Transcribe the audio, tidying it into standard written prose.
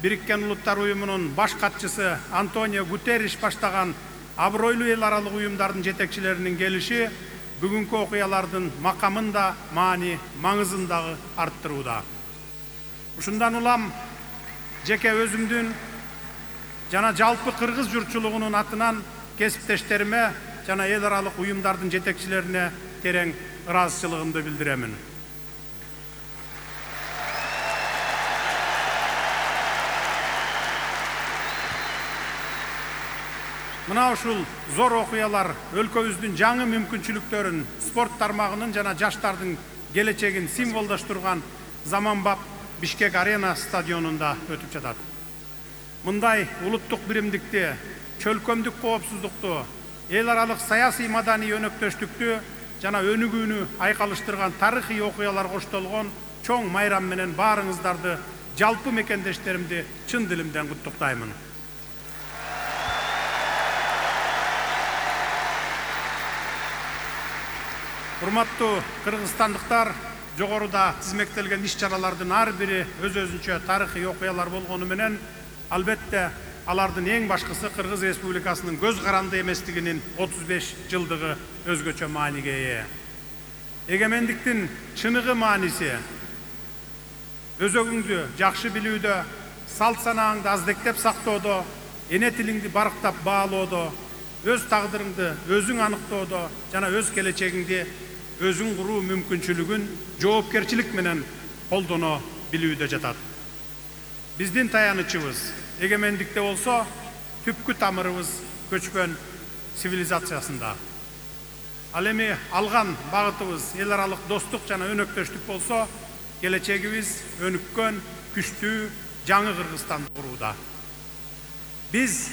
Бириккен Улуттар уюмунун баш катчысы Антонио Гутерриш баштаган абройлуу эл аралык уюмдардын жетекчилеринин келиши бүгүнкү окуялардын макамын да маңызын дагы арттырууда. Ушундан улам жеке өзүмдүн жана жалпы кыргыз журтчулугунун атынан кесиптештериме жана эл аралык уюмдардын жетекчилерине терең ыраазычылыгымды билдиремин. Мына ушул зор окуялар өлкөбүздүн жаңы мүмкүнчүлүктөрүн, спорт тармагынын жана жаштардын келечегин символдоштурган заманбап Бишкек Арена стадионунда өтүп жатат. Мындай улуттук биримдикти, чөлкөмдүк коопсуздукту, эл аралык саясий маданий өнөктөштүктү жана өнүгүүнү айкалыштырган тарыхый окуялар коштолгон чоң майрам менен баарыңыздарды жалпы мекендештеримди чын дилимден куттуктаймын. Урматтуу кыргызстандыктар, жогоруда тизмектелген иш-чаралардын ар бири өз-өзүнчө тарыхый окуялар болгону менен, албетте алардын эң башкысы Кыргыз Республикасынын көз каранды эместигинин 35 жылдыгы өзгөчө мааниге ээ. Эгемендиктин чыныгы мааниси өзөгүңдү жакшы билүүдө, салт санааңды аздектеп сактоодо, эне тилиңди барктап баалоодо, өз тагдырыңды өзүң аныктоодо жана өз келечегиңди өзүң куруу мүмкүнчүлүгүн жоопкерчилик менен колдоно билүүдө жатат. Биздин таянычыбыз эгемендикте болсо, түпкү тамырыбыз көчкөн цивилизациясында. Ал эми алган багытыбыз эл аралык достук жана өнөктөштүк болсо, келечегибиз өнүккөн, күчтүү, жаңы Кыргызстанды курууда. Биз